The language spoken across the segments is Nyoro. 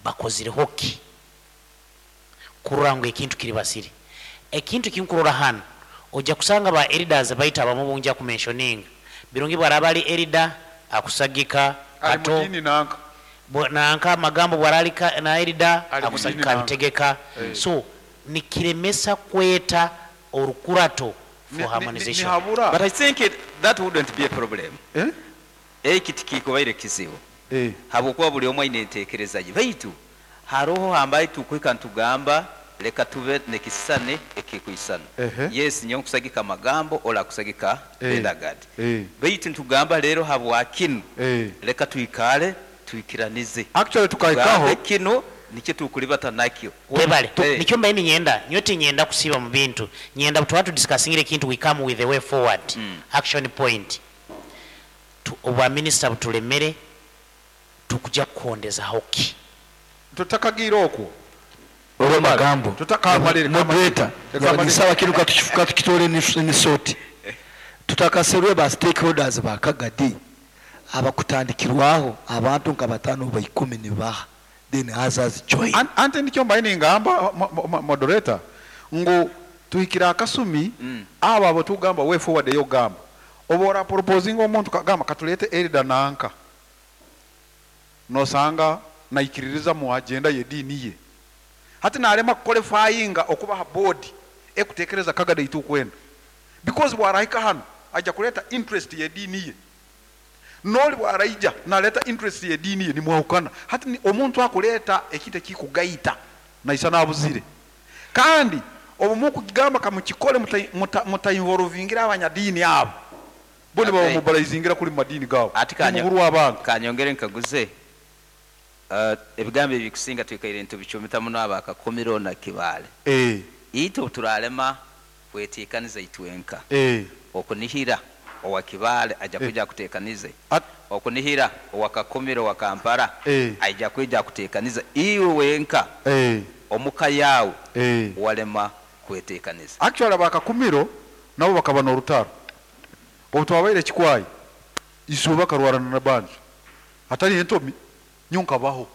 Bakozireho ki kurora ngu ekintu kiri basire? Ekintu kinkurora hano, ojja kusanga ba elders baitu abamu bunja kumentioninga Birungi, bwaraba ali elder akusagika Ali Kato mudini nanka. Nanka Magambo bwarali na elder Ali mudini akusagika nanka. abitegeka. So nikiremesa kweta orukurato for harmonization. Nihabura. But I think that wouldn't be a problem. Eh? Eki tikikubaire kizibu habwokuba buli omu aine enteekereza ye, baitu haroho hambaye tukuhika nitugamba leka tube nekisisane ekikwisana. Yes, nyowe nkusagika Magambo, oli akusagika Bendagat, baitu nitugamba leero habwa kinu leka twikale twikiranize, Actually tukahikaho. Tugambe kinu nikyo tukulibata nakyo. Webale. Nikyo mbaye ninyenda, nyowe tinyenda kusiiba mu bintu, nyenda tuba tudiscussingire ekintu, we come with a way forward, action point. Obwa minisita butulemere, tukuja kukondezaho ki? Tutakagira okwo. Olwo Magambo. Tutakamalire. Moderator. Kamalire. Nisaba kinu katukitole nisoti tutakaserwe ba stakeholders ba Kagadi abakutandikirwaho abantu nka 5 oba 10 nibaha, then others join. Ante nikyo mbaye ningamba, moderator, ngu tuhikira akasumi abo abo tugamba way forward eyo gamba oba ora proposing omuntu kagamba katulete elder nanka, nosanga naikiririza mu agenda ye dini ye, hati nalema qualifyinga okuba ha board ekutekereza Kagadi itukwenda, because bwarahika hano aja kuleta interest ye dini ye, noli bwaraija naleta interest ye dini ye, nimwahukana. Hati ni omuntu akuleta ekintu ekikugaita naisa nabuzire, kandi obu mukugamba kamukikole mutainvolvingira abanyadini abo bo niba bamobilizingira kuli madini gabo. Ati Nimuburu abantu. Kanyongere nkaguze, ebigambo ebikusinga twikaire ntubicumita muno abakakumiro na Kibale. Itwe turalema kwetekaniza itwenka. Okunihira owa Kibale aja kuja kutekanize. Okunihira owa Kakumiro wa Kampala aija kuja kutekaniza iwe wenka. Omuka yawe walema kwetekaniza. Actually abakakumiro nabo bakaba n'orutaro. Obu twabaire kikwayi izuba karwarana na banje atari entomi nyonkabaho.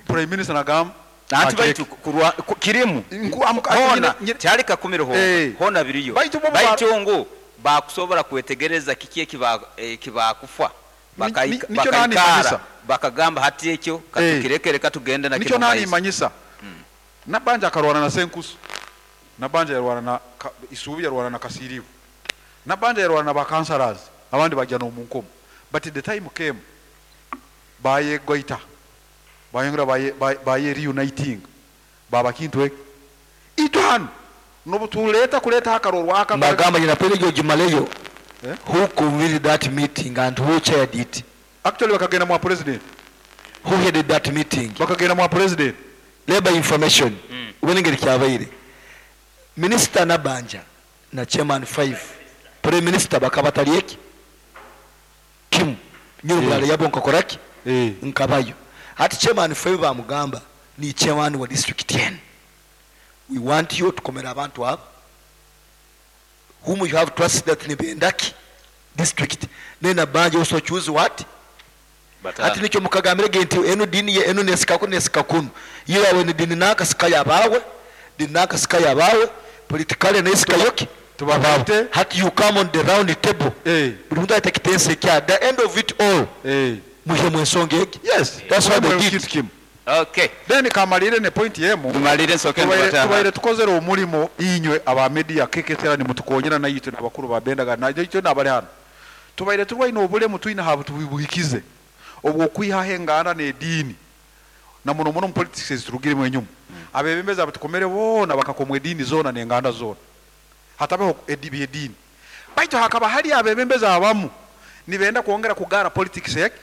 Prime Minister nagamba Anti Akireke. baitu kurwa, kirimu. Hona, tyali Kakumiro hona. Hona biriyo. Baitu bo Baitu ngu bakusobora kwetegereza kiki ekibakufa. Nikyo nani Bakaikara, manyisa? bakagamba hati ekyo, katukirekere, katugende na Nikyo kino nani maiso. manyisa? Nabanja akarwana na Senkusu. Nabanja yarwana na Isubi, yarwana na Kasirivu. Nabanja yarwana na bakansalas, abandi bajya no munkomo. But the time came baye goita. Bayongera baye reuniting. Baba kintu ek. Ito hano nobutuleta kuleta akarorwa aka Magamba nyina pele gimaleyo. Who convened that meeting and who chaired it? Actually bakagenda mwa president. Who headed that meeting? Bakagenda mwa president. Labor information. Ubonengeri kyabaire. Minister Nabanja na chairman 5. Prime Minister bakabatali eki? Kim. Nyuru mulala yabo nkakoraki? Nkabayo. Hati chairman 5 bamugamba ni chairman wa district 10. We want you to komera abantu abo whom you have trust that ni bendaki district. Nena banja also choose what? But, Ati nikyo mukagambire nti eno dini ye eno nesika ku nesika kunu. Ye yawe ni dini naka sika yabawe, dini naka sika yabawe, politically nesika yoki. Tubafite. Hati you come on the round table. Buli muntu ayita kitense kya the end of it all. Muhe mu ensonga egi. Yes. That's what they Muhe did. kintu kimu. Okay. Then kamalire ne point yemu. Tumalire nsoke nkwata. Tubaire tukozere omulimo inywe aba media keketera ni mutukonyera na yitwe nabakuru ba bendaga na yitwe nabali hano. Tubaire turwaine obulemu twine habo tubuhikize. Obwo kwiha hengana ne dini. Na muno muno mu politics ezirugire mu enyuma. Abebembezi abatukomere bona bakakomwe dini zona nenganda zona. Hatabeho edini. Baitu hakaba hali abebembezi abamu nibenda kuongera kugara politics yake.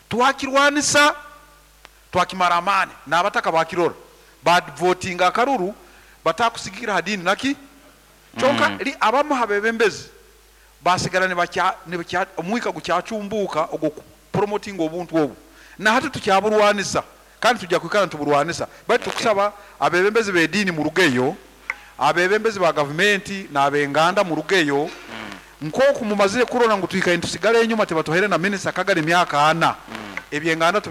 Twakirwanisa twakimara amani n'abataka bakirora bad voting akaruru batakusigira hadini naki kyonka li abamu habebembezi basigala ne bakya omwika gukyacumbuka ogwo promoting obuntu obwo na hati tukyaburwanisa kandi tujja kwikana tuburwanisa bali tukusaba abebembezi b'edini mu rugeyo, abebembezi ba government n'abenganda mu rugeyo, nkoku mumazire kurona ngu twikaye tusigale enyuma tebatuhere na minister Kagari emyaka 4 ebyenganda tubina.